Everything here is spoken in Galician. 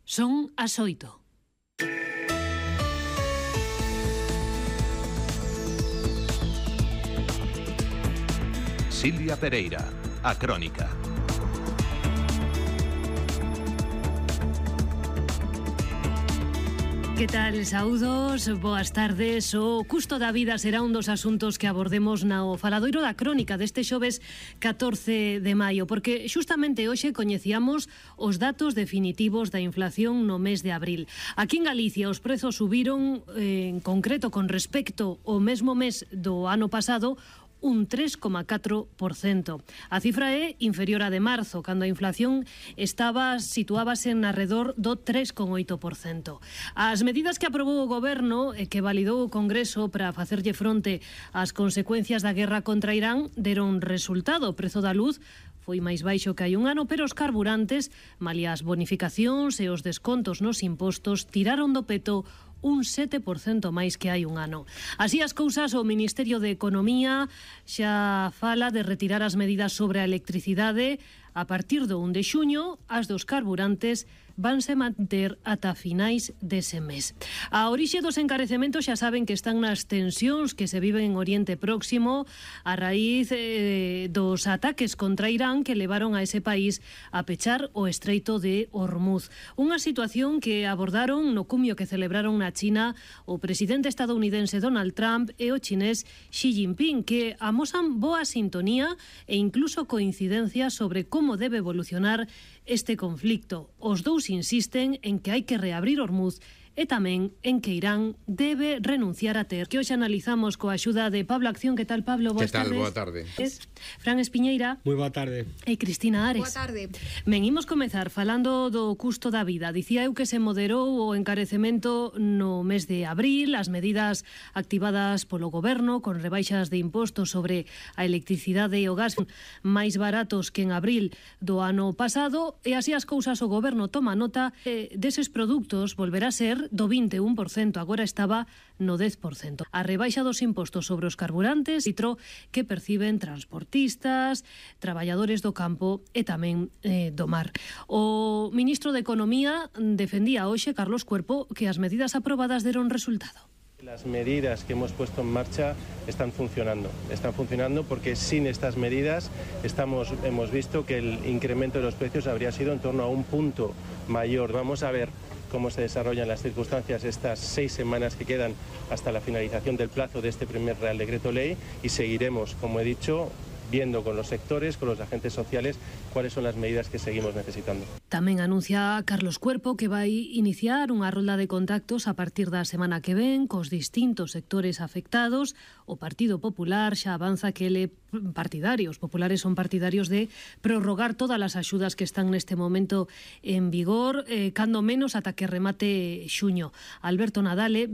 Son as 8. Silvia Pereira, a Crónica. Que tal, saúdos, boas tardes. O custo da vida será un dos asuntos que abordemos no faladoiro da Crónica deste xoves 14 de maio, porque xustamente hoxe coñecíamos os datos definitivos da inflación no mes de abril. Aquí en Galicia os prezos subiron, en concreto con respecto ao mesmo mes do ano pasado, un 3,4%. A cifra é inferior á de marzo, cando a inflación situábase en arredor do 3,8%. As medidas que aprobou o Goberno e que validou o Congreso para facerlle fronte ás consecuencias da guerra contra Irán deron resultado. O prezo da luz foi máis baixo que hai un ano, pero os carburantes, malia as bonificacións e os descontos nos impostos, tiraron do peto un 7% máis que hai un ano. Así as cousas, o Ministerio de Economía xa fala de retirar as medidas sobre a electricidade. A partir do 1 de xuño, as dos carburantes vanse manter ata finais dese mes. A orixe dos encarecementos xa saben que están nas tensións que se viven en Oriente Próximo a raíz dos ataques contra Irán que levaron a ese país a pechar o estreito de Hormuz. Unha situación que abordaron no cumio que celebraron na China o presidente estadounidense Donald Trump e o chinés Xi Jinping, que amosan boa sintonía e incluso coincidencia sobre como debe evolucionar este conflicto. Os dous insisten en que hai que reabrir Hormuz e tamén en que Irán debe renunciar a ter. Que hoxe analizamos coa axuda de Pablo Acción. Que tal, Pablo? Boas tardes. Boa tarde. Fran Espiñeira. Moi boa tarde. E Cristina Ares. Boa tarde. Ben, imos comezar falando do custo da vida. Dicía eu que se moderou o encarecemento no mes de abril, as medidas activadas polo Goberno con rebaixas de impostos sobre a electricidade e o gas máis baratos que en abril do ano pasado, e así as cousas o Goberno toma nota deses produtos volverá a ser do 21%, agora estaba no 10%. A rebaixa dos impostos sobre os carburantes, litro que perciben transportistas, traballadores do campo e tamén do mar. O ministro de Economía defendía hoxe, Carlos Cuerpo, que as medidas aprobadas deron resultado. Las medidas que hemos puesto en marcha están funcionando porque sin estas medidas hemos visto que el incremento de los precios habría sido en torno a un punto mayor. Vamos a ver cómo se desarrollan las circunstancias estas 6 semanas que quedan hasta la finalización del plazo de este primer Real Decreto Ley y seguiremos, como he dicho, viendo con los sectores, con los agentes sociales, cuáles son las medidas que seguimos necesitando. Tamén anuncia Carlos Cuerpo que vai iniciar unha rolda de contactos a partir da semana que ven cos distintos sectores afectados. O Partido Popular xa avanza que os populares son partidarios de prorrogar todas as axudas que están neste momento en vigor, cando menos ata que remate xuño. Alberto Nadale,